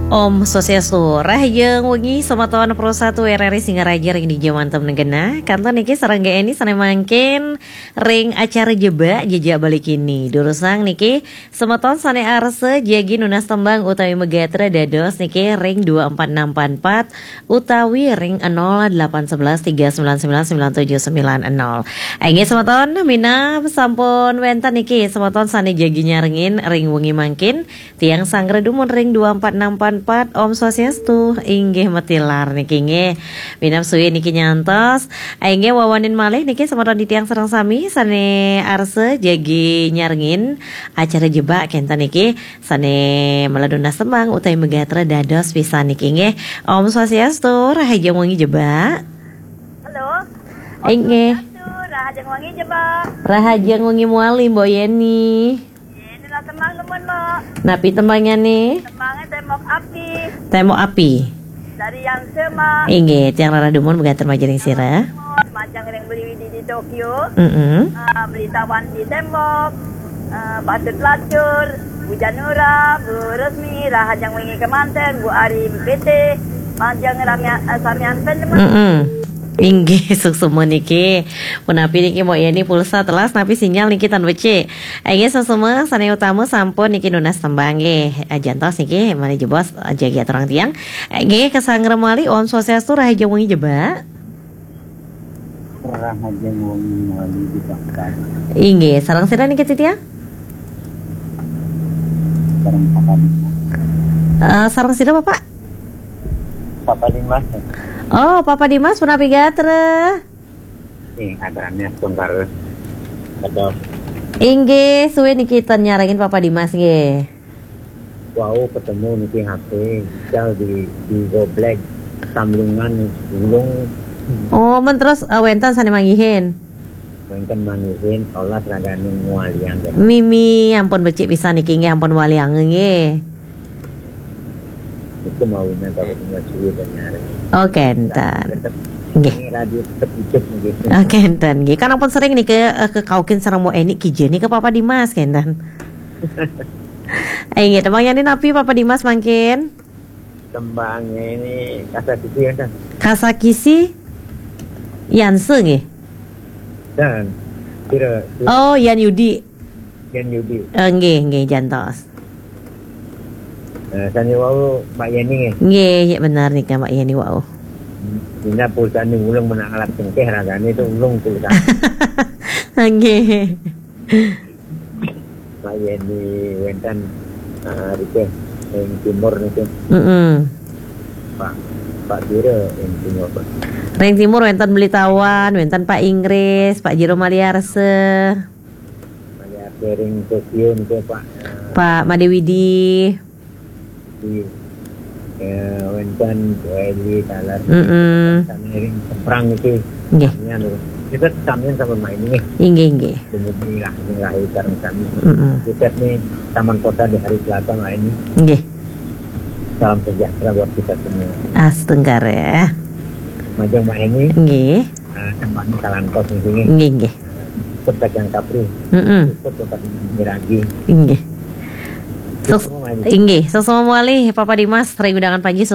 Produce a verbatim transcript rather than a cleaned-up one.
Om Swastiastu, rahajeng wengi semeton Pro satu R R I Singaraja ring dija manten nggena. Kantun niki sareng Eni sane mangkin ring acara Jebak Jejak Bali Kini. Durusang niki semeton sane arsa jagi nunas tembang utawi magatra dados niki ring dua empat enam empat empat utawi ring nol delapan sebelas tiga sembilan sembilan sembilan tujuh sembilan nol. Inggih semeton, minab sampun wenten niki semeton sane jagi nyarengin ring wengi mangkin. Tiang sanggra dumun ring dua empat enam empat empat. Om Swastiastu. Inggih matilar niki nggih. Minab suwi niki nyantos. Inggih wawanin malih niki semeton titiang sareng sami sane arsa jagi nyarengin acara Jebak kenten niki sane mala nunas tembang utawi magatra dados pisan niki nggih. Om Swastiastu, rahajeng wengi Jebak. Halo. Inggih. Om Swastiastu, rahajeng wengi Jebak. Rahajeng wengi malih Mbok Yeni. Ini lah tembang dumun, Mbok. Napi tembangne? Tembangne Tembok Api. Tembok Api. Dari Yang Sema. Inggih, tiang rarah dumun magatra majeng ring sira. Majeng ring Beli Widi di Tokyo. Mm-mm. Ah, Beli Tawan di Tembok. Ah, Patut Lacur, Bu Janura, Bu Resmi, rahajeng wengi kemanten, Bu Ari B T, majeng ramya-, eh, samian pen, Mbok. Mm-mm. Inggih, suksma niki. Punapi niki Mbok Yeni, pulsa telas napi sinyal niki tan becik. Inggih, suksma sane utama sampun niki nunas tembang nggih. Eh, jantos niki malih jebos, eh, jagi aturang tiang. Inggih, kasanggra malih, Om Swastiastu, rahajeng wengi Jebak. Rahajeng wengi malih Jebak. Inggih, sareng sira niki titiang? Sareng Papa Dimas. Eh, sareng sira, Bapak? Papa Dimas. Oh, Papa Dimas punapi gatra? Ih, aturane astungkara. Kados. Inggih, suwe niki ten nyarengin Papa Dimas nggih. Wau ketemu niki H P, ical di, di Goblek, Tamlungan, Gunung. Oh, men terus, eh, wenten sane manggihin? Wenten manggihin, olas ragane ngwaliang. Mimi, ampun becik pisan niki nggih, ampun waliang nggih. Itu mau ina kalau punya suwi dan nyari. Oh, kenten. Tetep nggih. Ini radio tetep hidup nggih. Oh, kenten nggih. Kan ampun sering niki, eh, ke kaukin sareng Mbok Eni kija niki Papa Dimas kenten. Eh, nggih, tembang Yeni napi Papa Dimas mangkin? Tembangnya ini Kasakisi ya, kan? Kasakisi Yanse nggih. Dan kira, kira Oh, Yan Yudi. Yan Yudi. Eh, nggih, nggih, jantos. Eh, sane wau Mbak Yeni nggih. Nggih, ya benar nika Mbak Yeni wau. Dina pulsane ulung menang alat cengkeh ragane itu ulung pulsa. Nggih. Mbak Yeni wenten, eh, rike ing timur niki. Mm-mm. Pak, Pak Jiro ing timur. Ring timur wenten Beli Tawan, wenten Pak Inggris, Pak Jiro Maliarse. Maliarse ring Tokyo niki, Pak. Pak Made Widi. Di, eh, wenten Bu Eli taler. Mm-mm. Sami ring seberang niki. Nggih. Samian lho. Kita samian sama main ini. Inggih, inggih. Dumugi lah, ini lahir sareng sami. Mm-mm. Kita nih Taman Kota di hari Selasa main ini. Nggih. Salam sejahtera buat kita semua. Astungkara. Majeng Mbak Eni. Nggih. Ah, tempatnya Kalantos di sini. Nggih, nggih. Ikut Kacang Kapri. Mm-mm. Ikut tempat Miragi. Nggih. Suks-, Semua ini. Inggih, suksma malih Papa Dimas, ring undangan panji